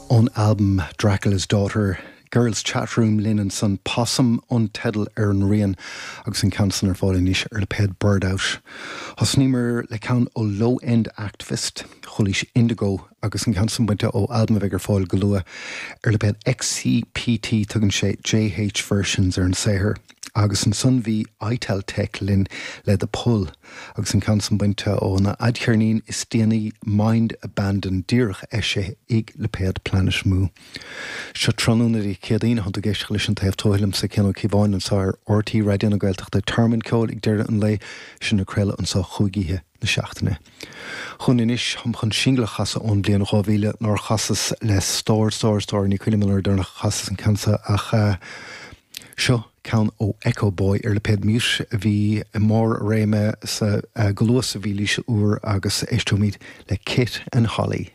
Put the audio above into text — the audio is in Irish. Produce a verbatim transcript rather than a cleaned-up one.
Ón albam Dracula's Daughter, Girls Chat Room linn ansan Possum an teideal ar an rian agus an ceann san ar fáil anois ar lipéad Bird Out. Thosnaíomar le ceann ó Low End Activist, Chualaís Indigo agus an ceann san bainte ó albam a bheidh ar fáil go luath ar lipéad XCPT tugann sé JH Versions ar an saothar. Agus ansan bhí Itel Tech linn le The Pull agus an ceann san bainte óna fhadcheirnín is déanaí Mind Abandon díreach eisithe ag lipéad Planet Mu. Seo tráthnóna Dé Céadaoin tá tú ag éisteacht leis an taobh tuaithe liomsa Cian Ó Cíobháin anseo ar RTÉ Raidió na Gaeltachta Tearmann Ceoil ag deireadh an lae sin ag craoladh anseo chúig oíche na seachtaine. Chun anois táim chun singil a chasadh ón bhliain dhá mhíle nár chasas le stór stór stór ní cuimhin liom an uair dheireanach a chasas an ceann seo ach uh, seo ceann ó Echo Boy ar lipéad Mute a bhí i mbarr a réime sa uh, go luath sa mhílaois úr agus éisteoimid le Kit and Holly.